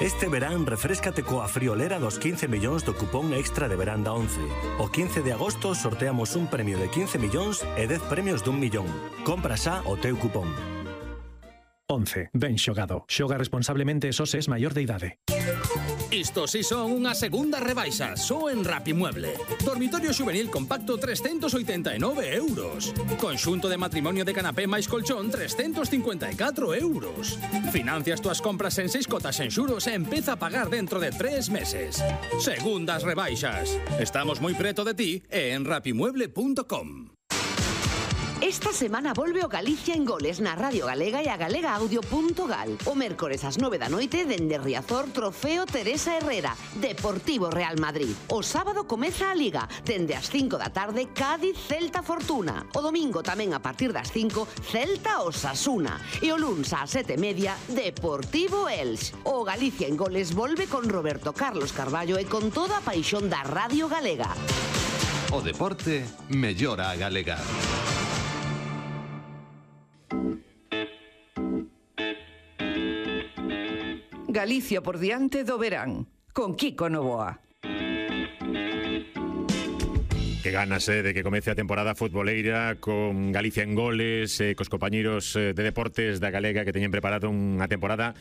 Este verán refréscate coa friolera dos 15 millóns do cupón extra de verán da 11. O 15 de agosto sorteamos un premio de 15 millóns e 10 premios dun millón. Compra xa o teu cupón. 11. Ben xogado. Xoga responsablemente e só se es maior de idade. Isto si son unha segunda rebaixa, só en Rapimueble. Dormitorio juvenil compacto 389 euros. Conxunto de matrimonio de canapé máis colchón 354 euros. Financias túas compras en 6 cotas en xuros e empeza a pagar dentro de 3 meses. Segundas rebaixas. Estamos moi preto de ti e en rapimueble.com. Esta semana volve o Galicia en Goles na Radio Galega e a galegaaudio.gal. O mércores ás 9 da noite dende Riazor, Trofeo Teresa Herrera, Deportivo Real Madrid. O sábado comeza a Liga, dende as 5 da tarde Cádiz Celta Fortuna. O domingo tamén a partir das 5 Celta Osasuna. E o luns ás 7:30 Deportivo Elx. O Galicia en Goles volve con Roberto Carlos Carballo e con toda a paixón da Radio Galega. O deporte mellora a galega. Galicia por diante do verán, con Kiko Novoa. Que ganas de que comece a temporada futboleira con Galicia en Goles, cos compañeros de deportes da Galega que teñen preparado unha temporada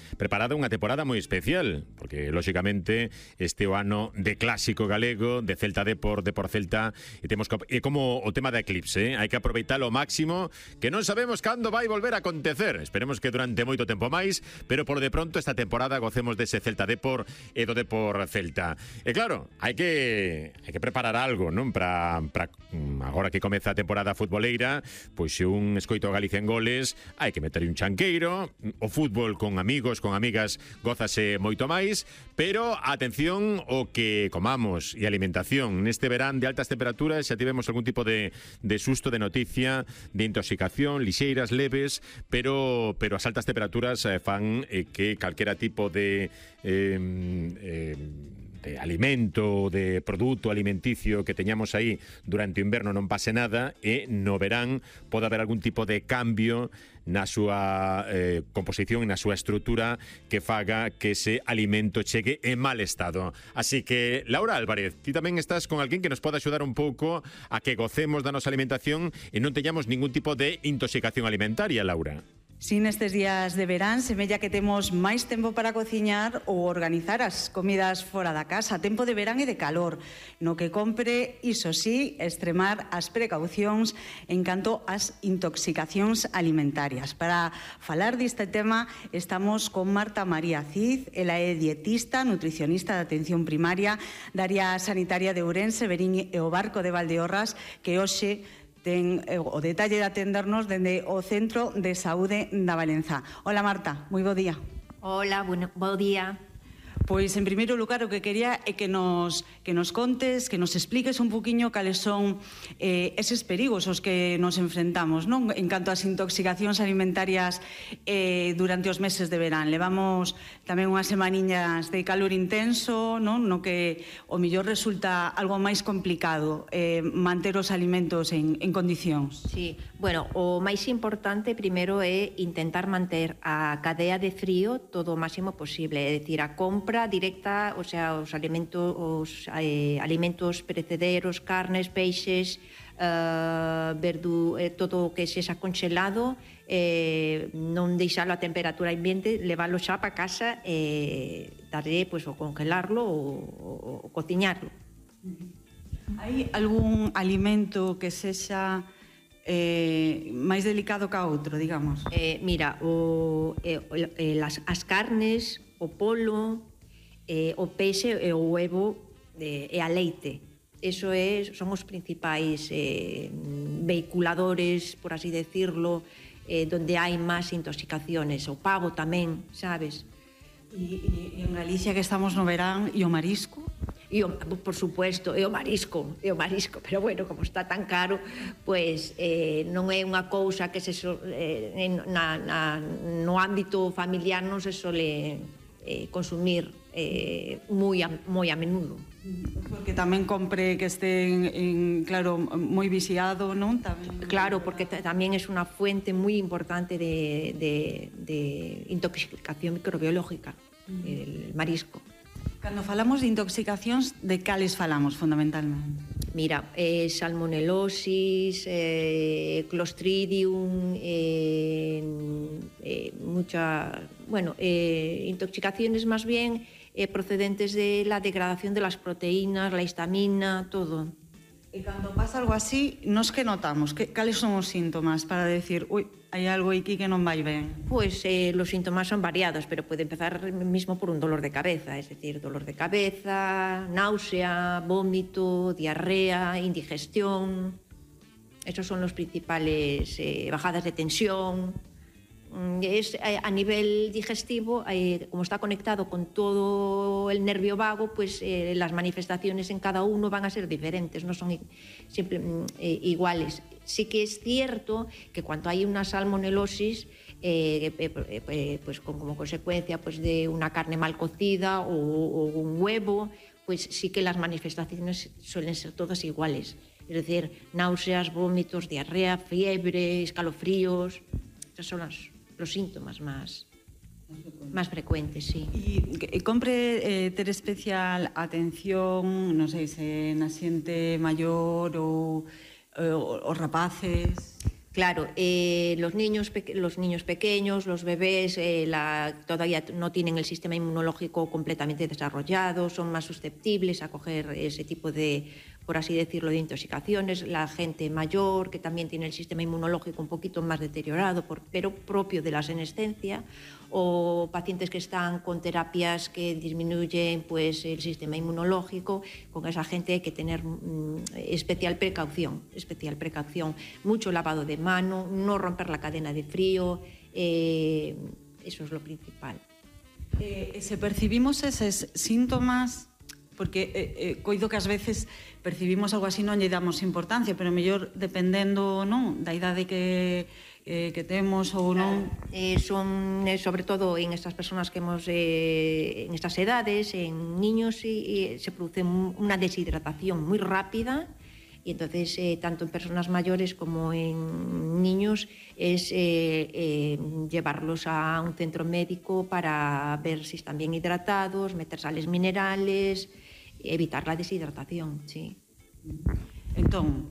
moi especial, porque lóxicamente este o ano de clásico galego, de Celta Depor, Depor Celta, e temos como o tema da eclipse, hai que aproveitalo ao máximo, que non sabemos cando vai volver a acontecer. Esperemos que durante moito tempo máis, pero por de pronto esta temporada gocemos dese Celta Depor e do Depor Celta. E claro, hai que preparar algo, non? Para agora que comeza a temporada futboleira, pois se un escoito Galicia en Goles, hai que meter un chanqueiro. O fútbol con amigos, con amigas, gózase moito máis, pero atención o que comamos e alimentación. Neste verán de altas temperaturas xa tivemos algún tipo de susto, de noticia de intoxicación, lixeiras, leves, pero as altas temperaturas fan que calquera tipo de alimento, de produto alimenticio que teñamos aí durante o inverno non pase nada, e no verán pode haber algún tipo de cambio na súa composición e na súa estrutura que faga que ese alimento chegue en mal estado. Así que, Laura Álvarez, ti tamén estás con alguén que nos pode axudar un pouco a que gocemos da nosa alimentación e non teñamos ningún tipo de intoxicación alimentaria, Laura. Si nestes días de verán semella que temos máis tempo para cociñar ou organizar as comidas fora da casa, tempo de verán e de calor, no que compre, iso sí, extremar as precaucións en canto ás intoxicacións alimentarias. Para falar deste tema estamos con Marta María Cid, ela é dietista, nutricionista de atención primaria da área sanitaria de Ourense, Verín e o Barco de Valdeorras, que hoxe ten o detalle de atendernos dende o Centro de Saúde da Valenza. Hola Marta, moi bo día. Hola, bo día. Pois, en primeiro lugar, o que quería é que nos contes, que nos expliques un poquinho cales son eses perigos aos que nos enfrentamos, non? En canto ás intoxicacións alimentarias durante os meses de verán. Levamos tamén unhas semaniñas de calor intenso, non? No que o mellor resulta algo máis complicado manter os alimentos en condicións. Sí, bueno, o máis importante primeiro é intentar manter a cadea de frío todo o máximo posible, é dicir, a compra directa, o sea, os alimentos perecederos, carnes, peixes, todo o que sexa congelado, non deixalo a temperatura ambiente, leválo xa para casa e darlle, pois, o congelarlo ou cociñarlo. Hai algún alimento que sexa máis delicado que a outro, digamos? Mira, as carnes, o polo, o peixe e o huevo e a leite. Eso son os principais vehiculadores, por así decirlo, donde hai máis intoxicaciones. O pavo tamén, sabes? E en Galicia, que estamos no verán, e o marisco? Por supuesto, é o marisco, pero bueno, como está tan caro, pois non é unha cousa que no ámbito familiar non se sole consumir moi a menudo. Porque tamén compre que este claro, moi viciado, non? Claro, porque tamén é unha fuente moi importante de intoxicación microbiológica. el marisco. Cando falamos de intoxicacións, de cales falamos fundamentalmente? Mira, salmonelosis, clostridium, intoxicaciones más bien procedentes de la degradación de las proteínas, la histamina, todo. E cando pasa algo así, nos que notamos? Cales son os síntomas para decir, ui, hai algo aquí que non vai ben? Pues los síntomas son variados, pero puede empezar mismo por un dolor de cabeza, es decir, dolor de cabeza, náusea, vómito, diarrea, indigestión. Esos son los principales, bajadas de tensión. Es a nivel digestivo, como está conectado con todo el nervio vago, pues las manifestaciones en cada uno van a ser diferentes, no son siempre iguales. Sí que es cierto que cuando hay una salmonelosis, pues como consecuencia pues de una carne mal cocida o un huevo, pues sí que las manifestaciones suelen ser todas iguales. Es decir, náuseas, vómitos, diarrea, fiebre, escalofríos. Esos son los síntomas más frecuentes, sí. E compre ter especial atención, non sei se na xente maior ou os rapaces? Claro, los niños pequeños, los bebés, todavía no tienen el sistema inmunológico completamente desarrollado, son más susceptibles a coger ese tipo de, por así decirlo, de intoxicaciones. La gente mayor, que también tiene el sistema inmunológico un poquito más deteriorado, pero propio de la senescencia, o pacientes que están con terapias que disminuyen pues, el sistema inmunológico. Con esa gente hay que tener especial precaución. Mucho lavado de mano, no romper la cadena de frío, eso es lo principal. Se percibimos eses síntomas, porque coido que ás veces percibimos algo así non lle damos importancia, pero mellor dependendo da idade que temos ou non. Son sobre todo en estas personas que hemos en estas edades, en niños, se produce una deshidratación muy rápida, y entonces tanto en personas mayores como en niños es llevarlos a un centro médico para ver si están bien hidratados, meter sales minerales, evitar la deshidratación, sí. Entón,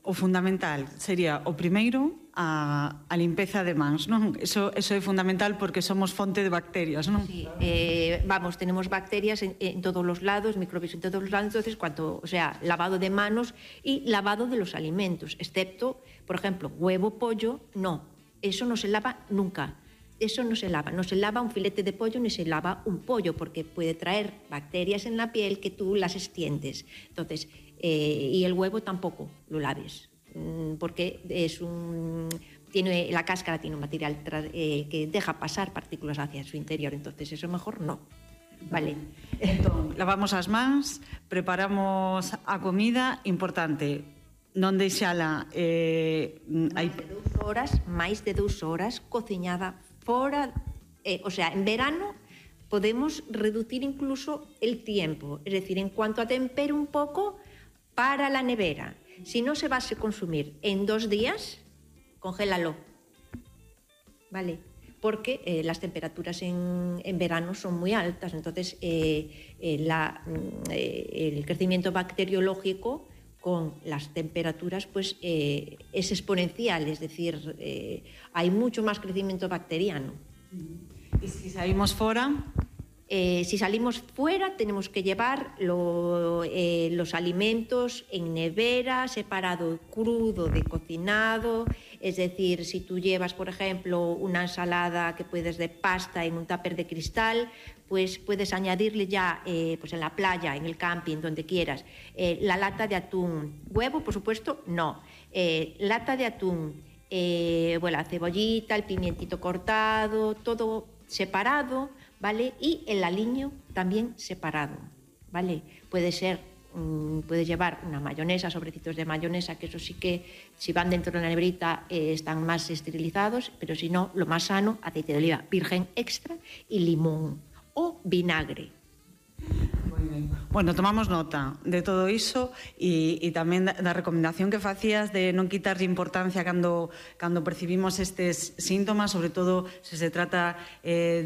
o fundamental sería o primeiro a limpeza de mans, non? Eso é fundamental porque somos fonte de bacterias, non? Sí, tenemos bacterias en todos los lados, microbios en todos los lados, entonces lavado de manos y lavado de los alimentos, excepto, por ejemplo, huevo, pollo, no, eso no se lava nunca. Eso no se lava un filete de pollo ni se lava un pollo, porque puede traer bacterias en la piel que tú las extiendes. Entonces, y el huevo tampoco lo laves, porque la cáscara tiene un material que deja pasar partículas hacia su interior, entonces eso mejor no. Vale. Entón, lavamos as mans, preparamos a comida, importante, non deixala máis de 2 horas cociñada fora, en verano podemos reducir incluso el tiempo, es decir, en cuanto a tempero un poco para la nevera. Si no se va a consumir en 2 días, congélalo, ¿vale? Porque las temperaturas en verano son muy altas, entonces el crecimiento bacteriológico con las temperaturas pues es exponencial, es decir, hay mucho más crecimiento bacteriano. ¿Y si salimos fuera? Si salimos fuera tenemos que llevar los alimentos en nevera, separado crudo de cocinado, es decir, si tú llevas, por ejemplo, una ensalada que puedes de pasta en un tupper de cristal, pues puedes añadirle ya pues en la playa, en el camping, donde quieras, la lata de atún. Huevo, por supuesto, no. Lata de atún, la cebollita, el pimientito cortado, todo separado, ¿vale? Y el aliño también separado, ¿vale? Puedes llevar una mayonesa, sobrecitos de mayonesa, que eso sí que, si van dentro de la neverita, están más esterilizados, pero si no, lo más sano, aceite de oliva virgen extra y limón o vinagre. Bueno, tomamos nota de todo iso e tamén da recomendación que facías de non quitarlle importancia cando percibimos estes síntomas, sobre todo se se trata de